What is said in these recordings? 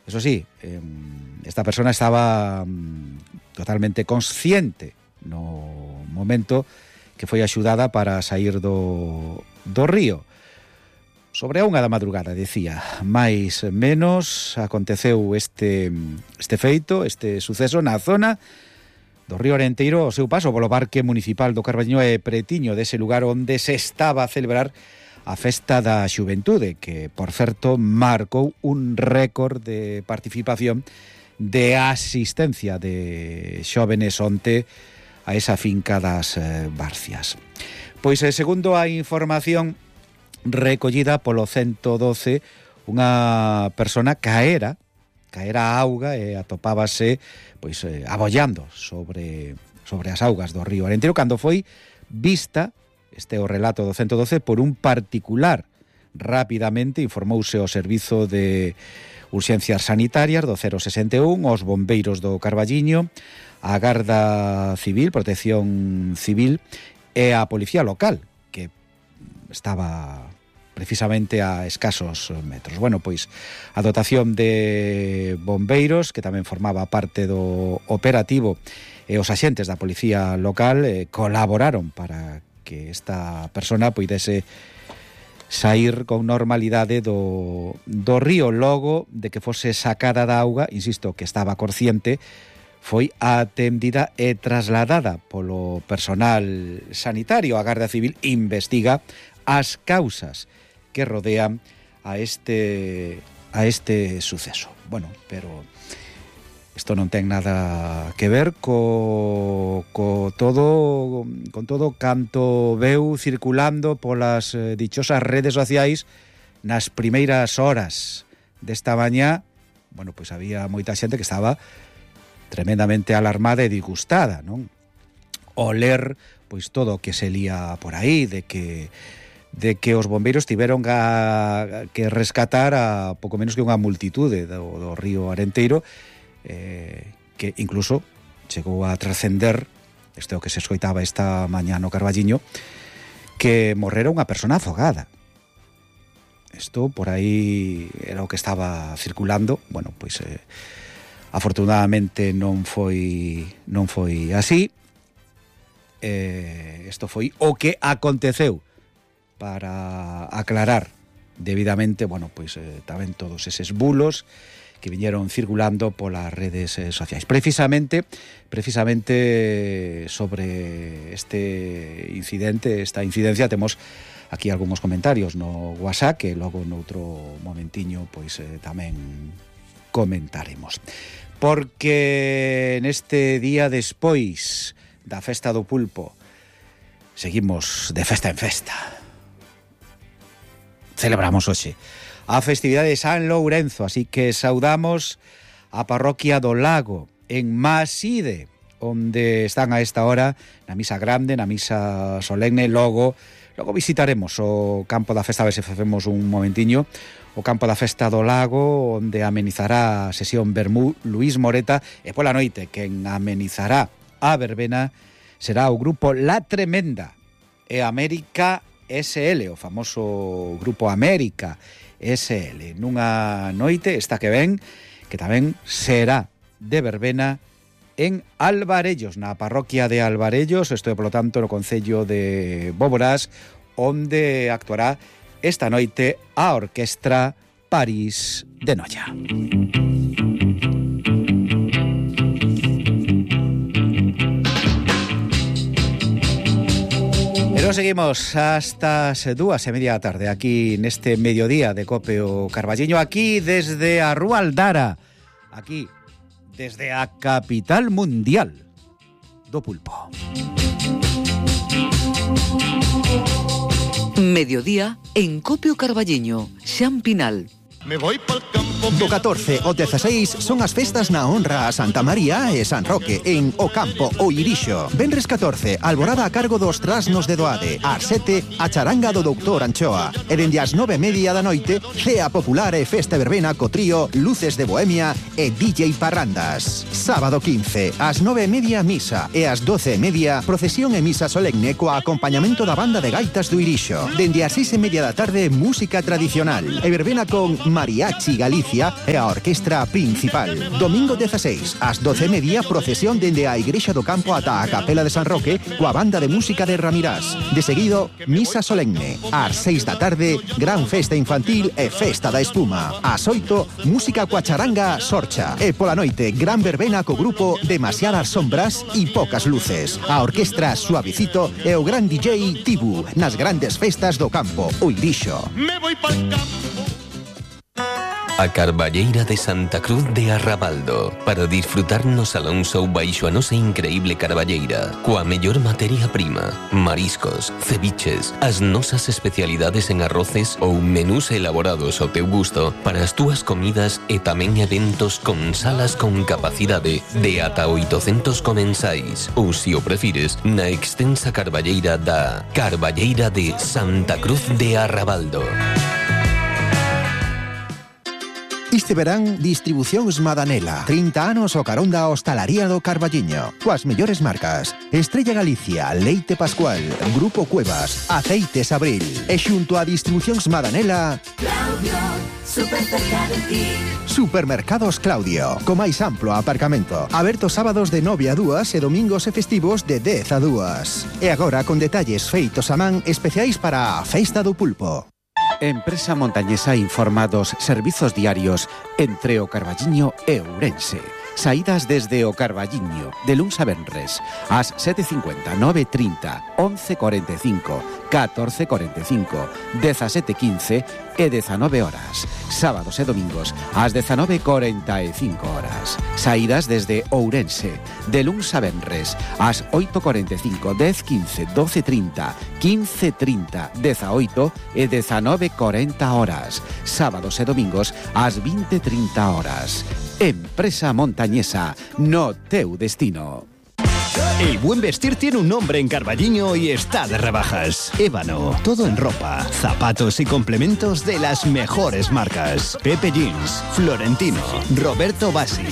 Eso sí, esta persona estaba totalmente consciente no momento que foi axudada para sair do río. Sobre a 1 da madrugada, decía, máis menos aconteceu este feito, este suceso na zona do río Arenteiro, o seu paso polo Parque Municipal do Carballiño e pretiño dese lugar onde se estaba a celebrar a Festa da Xuventude, que, por certo, marcou un récord de participación, de asistencia de xóvenes onte a esa finca das Barcias. Pois, segundo a información recollida polo 112, unha persona caera a auga e atopábase pois abollando sobre as augas do río Arenteiro cando foi vista, este é o relato do 112, por un particular. Rapidamente informouse o servizo de urxencias sanitarias do 061, os bombeiros do Carballiño, a Garda Civil, Protección Civil e a Policía Local, que estaba precisamente a escasos metros. Bueno, pois a dotación de bombeiros, que tamén formaba parte do operativo, e os axentes da Policía Local colaboraron para que esta persona poidese sair con normalidade do río. Logo de que fose sacada da auga, insisto, que estaba consciente, foi atendida e trasladada polo personal sanitario. A Garda Civil investiga as causas que rodean a este suceso. Bueno, pero isto non ten nada que ver con todo canto veu circulando polas dichosas redes sociais nas primeiras horas desta mañá. Bueno, pois había moita xente que estaba tremendamente alarmada e disgustada, non? O ler pois todo o que se lía por aí de que os bombeiros tiveron que rescatar a pouco menos que unha multitude do río Arenteiro, que incluso chegou a trascender, isto é o que se escoitaba esta mañá no Carballiño, que morrera unha persona afogada. Isto por aí era o que estaba circulando. Bueno, pois afortunadamente non foi así. Isto foi o que aconteceu, para aclarar debidamente, bueno, pois tamén todos eses bulos que viñeron circulando polas redes sociais. Precisamente sobre este incidente, esta incidencia, temos aquí algúns comentarios no WhatsApp que logo noutro momentiño pois tamén comentaremos. Porque neste día despois da Festa do Pulpo seguimos de festa en festa. Celebramos hoxe a festividade de San Lourenzo, así que saudamos a parroquia do Lago en Maside, onde están a esta hora na misa grande, na misa solemne. Logo visitaremos o campo da festa, a ver se facemos un momentiño, o campo da festa do Lago, onde amenizará a sesión Vermú Luís Moreta, e pola noite quen amenizará a verbena será o grupo La Tremenda e América SL, o famoso grupo América SL, nunha noite esta que ven, que tamén será de verbena en Alvarellos, na parroquia de Alvarellos, isto é, polo tanto, no concello de Bóboras, onde actuará esta noite a Orquestra París de Noia. Pero seguimos hasta as 2:30 da tarde, aquí neste mediodía de Cope o Carballiño, aquí desde a Rúa Aldara, aquí desde a capital mundial do pulpo. Mediodía en Cope o Carballiño, Xan Pinal. Me voy pa'l campo. Do 14 ao 16 son as festas na honra a Santa María e San Roque en O Campo, o Irixo. Venres 14, alborada a cargo dos Trasnos de Doade. Ás 7, a charanga do Doutor Anchoa. E dende as 9:30 da noite, cea popular e festa verbena co trío Luces de Bohemia e DJ Parrandas. Sábado 15, ás 9:30 misa e ás 12:30 procesión e misa solemne coa acompañamento da banda de gaitas do Irixo. Dende as 6:30 da tarde, música tradicional e verbena con Mariachi Galicia e a orquestra principal. Domingo 16, ás 12:30, procesión dende a Igrexa do Campo ata a Capela de San Roque coa banda de música de Ramirás. De seguido, misa solemne. Ás 6 da tarde, gran festa infantil e festa da espuma. Ás 8, música coa charanga Sorcha. E pola noite, gran verbena co grupo Demasiadas Sombras e Pocas Luces. A orquestra Suavecito e o gran DJ Tibu nas grandes festas do campo, o Irixo. Me voy pa'l campo. A Carballeira de Santa Cruz de Arrabaldo, para disfrutar no Salón Show baixo a nosa increíble carballeira, coa mellor materia prima, mariscos, ceviches, as nosas especialidades en arroces ou menús elaborados ao teu gusto para as túas comidas e tamén eventos con salas con capacidade de ata 800 comensais, ou se o prefires, na extensa carballeira da Carballeira de Santa Cruz de Arrabaldo. Este verán, distribucións Madanela. 30 anos o carón da hostalaría do Carballiño. Coas mellores marcas: Estrella Galicia, Leite Pascual, Grupo Cuevas, Aceites Abril. E xunto a distribucións Madanela, Claudio, super cerca de ti. Supermercados Claudio, co máis amplo aparcamento. Aberto sábados de 9 a 2 e domingos e festivos de 10 a 2. E agora con detalles feitos a man especiais para a Festa do Pulpo. Empresa Montañesa informa dos servizos diarios entre o Carballiño e Ourense. Saídas desde o Carballiño, de luns a venres, ás 7:50, 9:30, 11:45, 14:45, 17:15 e 19 horas. Sábados e domingos, ás 19:45 horas. Saídas desde Ourense, de luns a venres, ás 8:45, 10:15, 12:30, 15:30, 18 e 19:40 horas. Sábados e domingos, ás 20:30 horas. Empresa Montañesa, no teu destino. El buen vestir tiene un nombre en Carballiño y está de rebajas. Ébano, todo en ropa, zapatos y complementos de las mejores marcas. Pepe Jeans, Florentino, Roberto Bassi.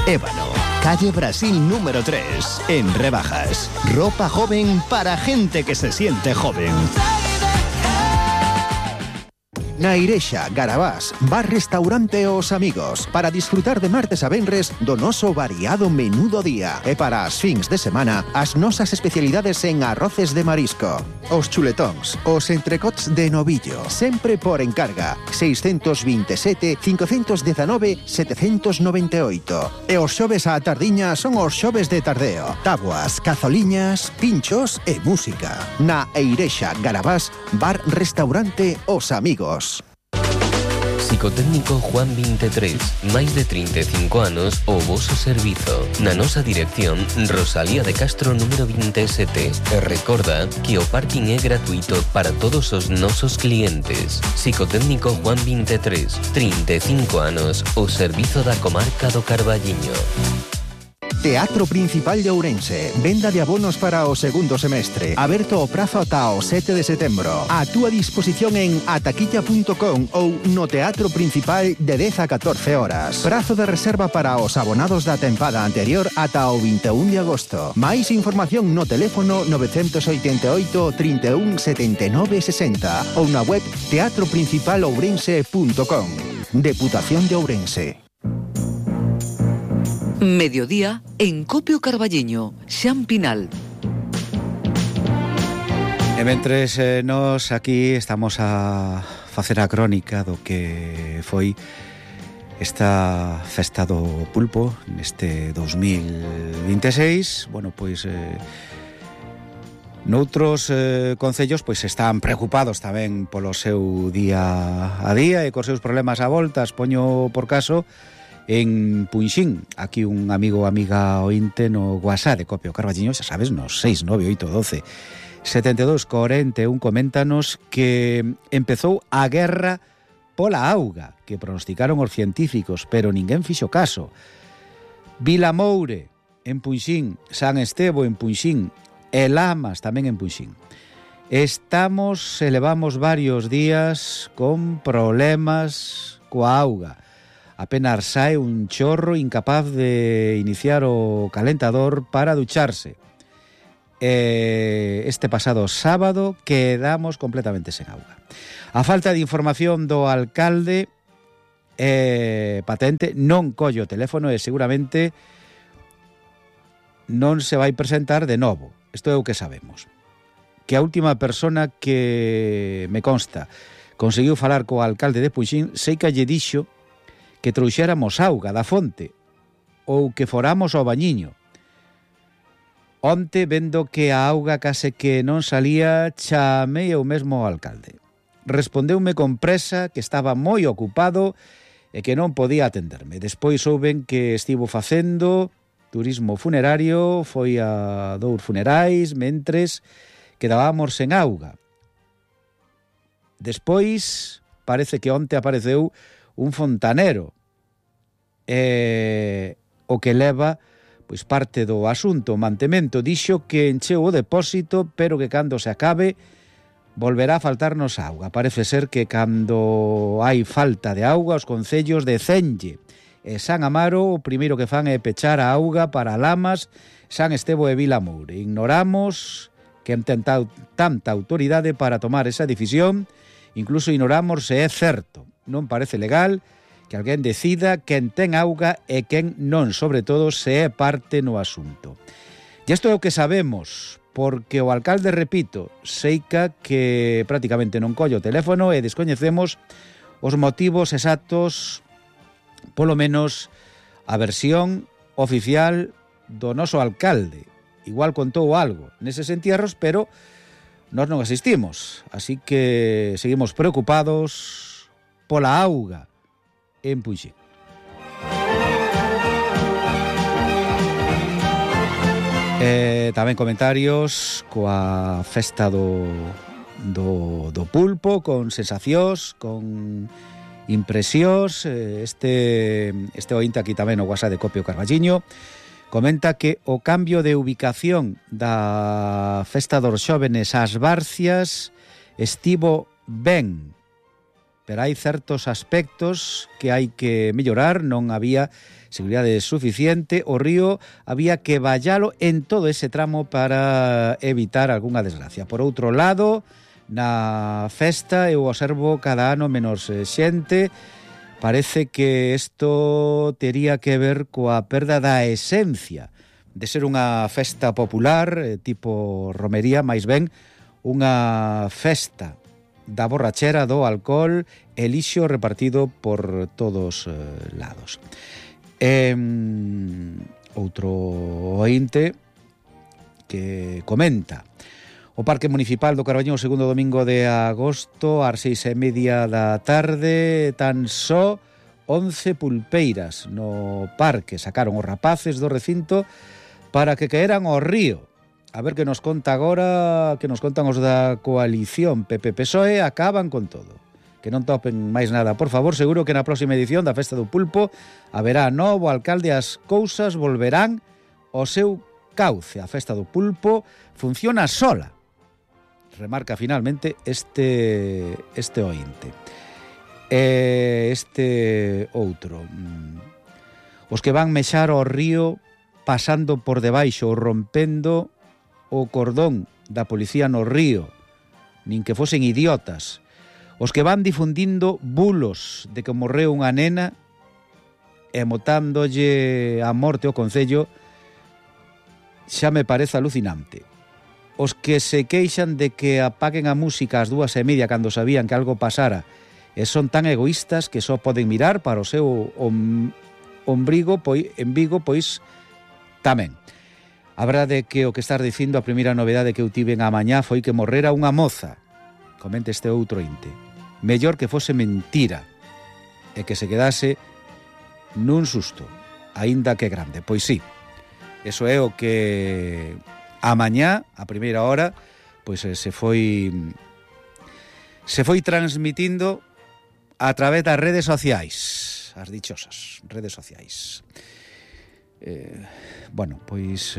Ébano, calle Brasil número 3, en rebajas. Ropa joven para gente que se siente joven. Na Irexa, Garabás, bar restaurante Os Amigos, para disfrutar de martes a venres do noso variado menú do día. E para as fins de semana, as nosas especialidades en arroces de marisco. Os chuletóns, os entrecots de novillo, sempre por encarga, 627 519 798. E os xoves á tardiña son os xoves de tardeo. Tabuas, cazoliñas, pinchos e música. Na Irexa, Garabás, bar restaurante Os Amigos. Psicotécnico Juan 23, máis de 35 anos o voso servizo. Na nosa dirección, Rosalía de Castro número 27. E recorda que o parking é gratuito para todos os nosos clientes. Psicotécnico Juan 23, 35 anos o servizo da comarca do Carballiño. Teatro Principal de Ourense. Venda de abonos para o segundo semestre. Aberto o prazo ata o 7 de setembro. A túa disposición en ataquilla.com ou no Teatro Principal de 10 a 14 horas. Prazo de reserva para os abonados da tempada anterior ata o 21 de agosto. Máis información no teléfono 988 31 79 60 ou na web teatroprincipalourense.com. Deputación de Ourense. Mediodía en Copio Carballiño, Xan Pinal. E mentres nos aquí estamos a facer a crónica do que foi esta festa do pulpo neste 2026, bueno, pois noutros concellos pois están preocupados tamén polo seu día a día e cos seus problemas a voltas. Poño por caso en Punxín, aquí un amigo ou amiga ointe no WhatsApp de Copio Carballiño, xa sabes, nos 69812 7241, coméntanos que empezou a guerra pola auga, que pronosticaron os científicos, pero ninguén fixo caso. Vilamoure, en Punxín, San Estevo, en Punxín, e Lamas, tamén en Punxín. Levamos varios días con problemas coa auga. Apenas sae un chorro, incapaz de iniciar o calentador para ducharse. Este pasado sábado quedamos completamente sen auga. A falta de información do alcalde patente, non colle o teléfono e seguramente non se vai presentar de novo. Isto é o que sabemos. Que a última persona que me consta conseguiu falar co alcalde de Puxín, sei que lle dixo que trouxéramos auga da fonte ou que foramos ao bañiño. Onte, vendo que a auga case que non salía, chamei eu mesmo ao alcalde. Respondeume con presa que estaba moi ocupado e que non podía atenderme. Despois souben que estivo facendo turismo funerario, foi a 2 funerais, mentres quedábamos sen auga. Despois, parece que onte apareceu un fontanero, o que leva pois parte do asunto, o mantemento. Dixo que encheu o depósito, pero que cando se acabe volverá a faltarnos auga. Parece ser que cando hai falta de auga, os concellos de Cenlle e San Amaro o primeiro que fan é pechar a auga para Lamas, San Estevo e Vilamoure. Ignoramos que han tentado tanta autoridade para tomar esa decisión, incluso ignoramos se é certo. Non parece legal que alguén decida quen ten auga e quen non, sobre todo se é parte no asunto. E isto é o que sabemos, porque o alcalde, repito, seica que prácticamente non colle o teléfono e descoñecemos os motivos exactos, polo menos a versión oficial do noso alcalde. Igual contou algo neses entierros, pero nós non asistimos, así que seguimos preocupados pola auga en Puxín. Tamén comentarios coa festa do pulpo, con sensacións, con impresións. Este ointe aquí tamén o WhatsApp de Copio Carballiño comenta que o cambio de ubicación da festa dos xóvenes ás Barcias estivo ben, pero hai certos aspectos que hai que mellorar. Non había seguridade suficiente, o río había que vallalo en todo ese tramo para evitar algunha desgracia. Por outro lado, na festa eu observo cada ano menos xente. Parece que isto tería que ver coa perda da esencia de ser unha festa popular, tipo romería, máis ben unha festa da borrachera, do alcohol e lixo repartido por todos lados. Outro ointe que comenta: o Parque Municipal do Carballiño o segundo domingo de agosto ás 6:30 da tarde, tan só 11 pulpeiras no parque. Sacaron os rapaces do recinto para que caeran ao río. A ver que nos conta agora, que nos contan os da coalición PP-PSOE. Acaban con todo. Que non topen máis nada, por favor. Seguro que na próxima edición da Festa do Pulpo haberá novo alcalde, as cousas volverán ao seu cauce. A Festa do Pulpo funciona sola, remarca finalmente este ointe. Este outro: os que van mexar ao río pasando por debaixo ou rompendo o cordón da policía no río, nin que fosen idiotas. Os que van difundindo bulos de que morreu unha nena e motándolle a morte ao concello, xa me parece alucinante. Os que se queixan de que apaguen a música ás 2:30 cando sabían que algo pasara e son tan egoístas que só poden mirar para o seu ombrigo, en Vigo, pois tamén. A verdade é que o que estás dicindo, a primeira novedade que eu tiven a mañá foi que morrera unha moza. Comenta este outro inte. Mellor que fose mentira e que se quedase nun susto, aínda que grande. Pois sí, eso é o que a mañá, a primeira hora, pois se foi transmitindo a través das redes sociais, as dichosas redes sociais. Bueno, pois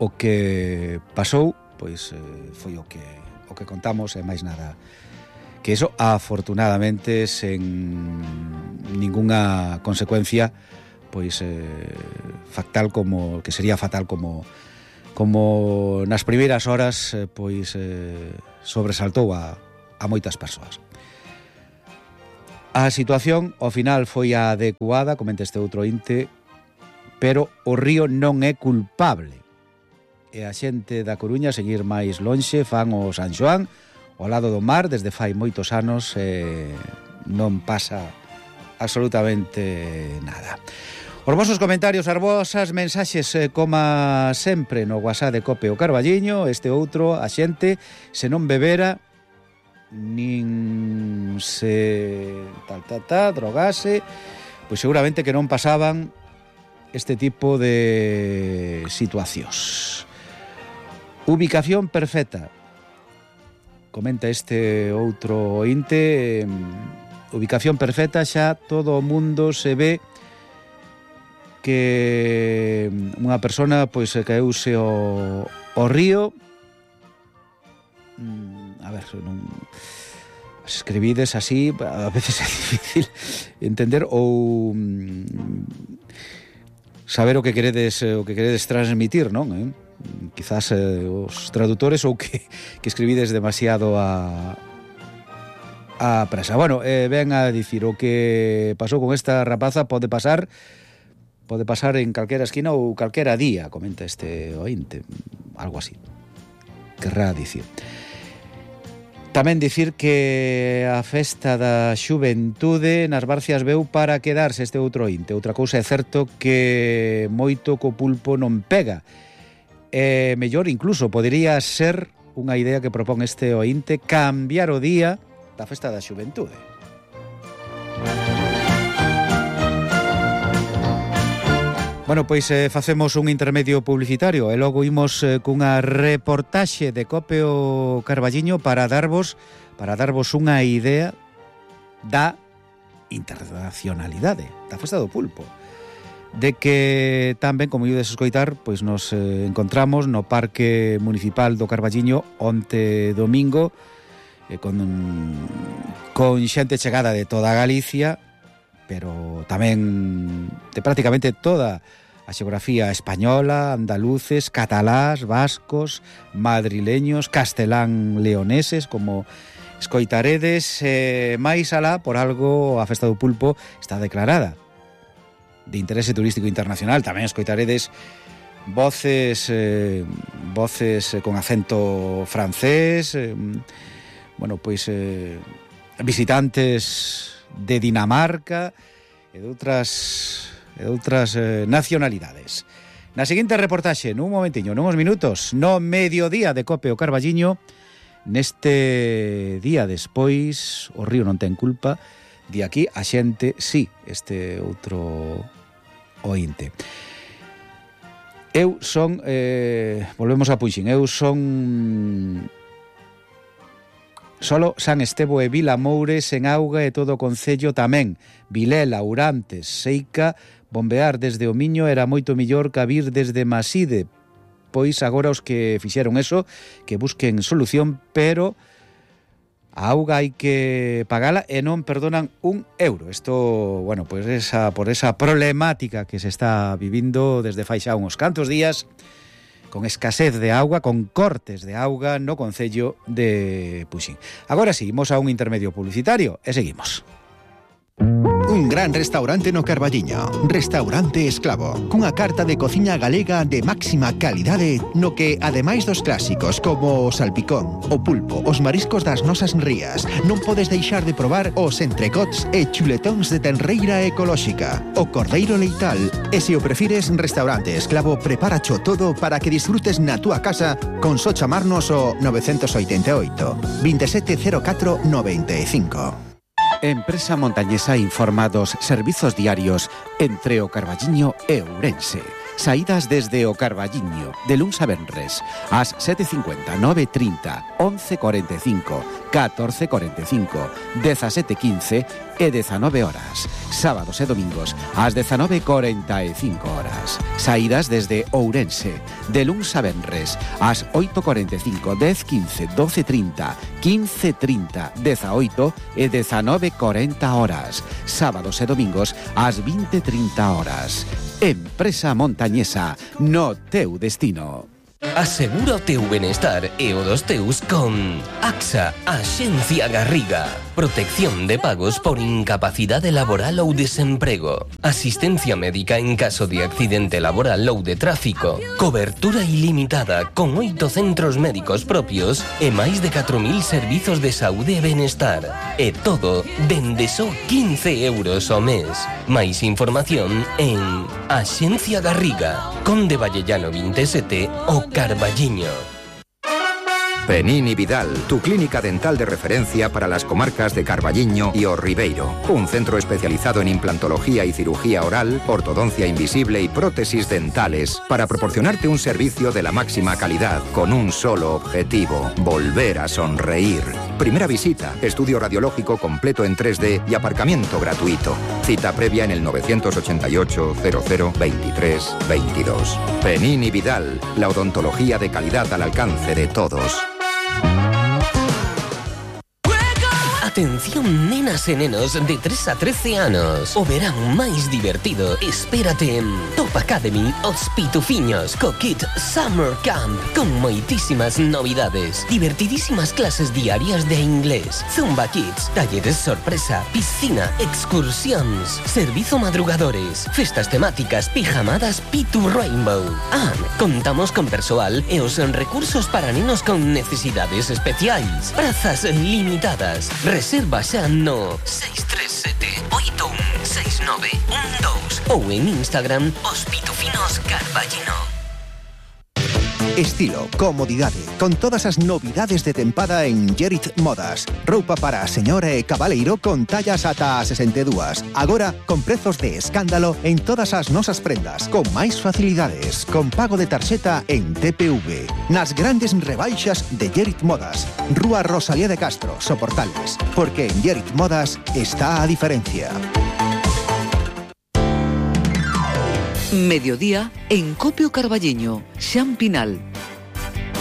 o que pasou, pois foi o que contamos e máis nada que eso, afortunadamente sen ningunha consecuencia pois fatal, como que sería fatal, como nas primeiras horas sobresaltou a moitas persoas. A situación ao final foi a adecuada, comenta este outro inte, pero o río non é culpable. E a xente da Coruña, seguir máis lonxe, fan o San Xoán ao lado do mar desde fai moitos anos, non pasa absolutamente nada. Os vosos comentarios, as vosas mensaxes, como sempre no WhatsApp de Cope o Carballiño. Este outro, a xente, se non bebera nin se drogase, pois seguramente que non pasaban este tipo de situacións. Ubicación perfecta, comenta este outro ointe. Ubicación perfecta, xa todo o mundo se ve que unha persona pois caeuse ao río. A ver, non escribides así, a veces é difícil entender ou saber o que queredes transmitir, non? Quizás os traductores ou que escribides demasiado a presa. Bueno, ven a dicir o que pasou con esta rapaza pode pasar en calquera esquina ou calquera día, comenta este ointe, algo así querrá dicir. Tamén dicir que a festa da xuventude nas Barcias veu para quedarse, este outro ointe. Outra cousa é certo que moito co pulpo non pega. Mellor incluso podería ser unha idea que propón este ointe, cambiar o día da festa da xuventude. Bueno, pois facemos un intermedio publicitario e logo imos cunha reportaxe de Cope o Carballiño para darvos unha idea da internacionalidade da festa do pulpo, de que tamén, como ides escoitar, pois nos encontramos no Parque Municipal do Carballiño onte domingo, con xente chegada de toda Galicia, pero tamén de prácticamente toda a xeografía española, andaluces, catalás, vascos, madrileños, castelán-leoneses, como escoitaredes. Máis alá, por algo, a Festa do Pulpo está declarada de interese turístico internacional. Tamén escoitaredes voces con acento francés, bueno, pois visitantes de Dinamarca e de outras nacionalidades. Na seguinte reportaxe, nun momentiño, nuns minutos, no mediodía de Cope o Carballiño, neste día despois, o río non ten culpa, de aquí a xente, sí, este outro ointe. Eu son, volvemos a Puxín, eu son solo San Estevo e Vilamoure, sen auga e todo o concello tamén. Vilela, Urantes, Seica, bombear desde o Miño era moito millor que vir desde Maside. Pois agora os que fixeron eso, que busquen solución, pero a auga hai que pagala e non perdonan €1. Isto, bueno, pois por esa problemática que se está vivindo desde fai xa uns cantos días, con escasez de auga, con cortes de auga no concello de Puxín. Agora sí, imos a un intermedio publicitario e seguimos. Un gran restaurante no Carballiño, Restaurante Esclavo, cunha carta de cociña galega de máxima calidade, no que, ademais dos clásicos como o salpicón, o pulpo, os mariscos das nosas rías, non podes deixar de probar os entrecots e chuletóns de tenreira ecolóxica, o cordeiro leital, e se o prefires, Restaurante Esclavo preparacho todo para que disfrutes na túa casa con só chamarnos o 988 2704 95. Empresa Montañesa informa dos servizos diarios entre o Carballiño e Ourense. Saídas desde o Carballiño, de luns a venres, ás 7:50, 9:30, 11:45, 14:45, 17:15 e 19 horas. Sábados e domingos, ás 19:45 horas. Saídas desde Ourense, de luns a venres, ás 8:45, 10:15, 12:30, 15:30, 18 e 19:40 horas. Sábados e domingos, ás 20:30 horas. Empresa Montañesa, no teu destino. Asegura o teu benestar e o dos teus con AXA, Axencia Garriga. Protección de pagos por incapacidade laboral ou desemprego. Asistencia médica en caso de accidente laboral ou de tráfico. Cobertura ilimitada con 8 centros médicos propios e máis de 4.000 servizos de saúde e benestar. E todo dende só 15 euros ao mes. Máis información en Axencia Garriga, Conde Vallellano 27 o Carballiño. Penini Vidal, tu clínica dental de referencia para las comarcas de Carballiño y O Ribeiro. Un centro especializado en implantología y cirugía oral, ortodoncia invisible y prótesis dentales para proporcionarte un servicio de la máxima calidad con un solo objetivo: volver a sonreír. Primera visita, estudio radiológico completo en 3D y aparcamiento gratuito. Cita previa en el 988 00 23 22. Penini Vidal, la odontología de calidad al alcance de todos. Atención, nenas e nenos de 3 a 13 anos. O verán máis divertido espérate en Top Academy Os Pitufiños co Kit Summer Camp, con moitísimas novidades, divertidísimas clases diarias de inglés, Zumba Kids, talleres sorpresa, piscina, excursións, servizo madrugadores, festas temáticas, pijamadas Pitu Rainbow. Contamos con persoal e os recursos para nenos con necesidades especiais. Prazas limitadas. Reserva xa no 637-816912 ou en Instagram Os Pitufinos Carballino. Estilo, comodidade, con todas as novidades de tempada en Gerit Modas. Roupa para a señora e cabaleiro con tallas ata a 62. Agora, con prezos de escándalo en todas as nosas prendas, con máis facilidades, con pago de tarxeta en TPV. Nas grandes rebaixas de Gerit Modas. Rúa Rosalía de Castro, Soportales. Porque en Gerit Modas está a diferencia. Mediodía en Copio Carballiño, Xan Pinal.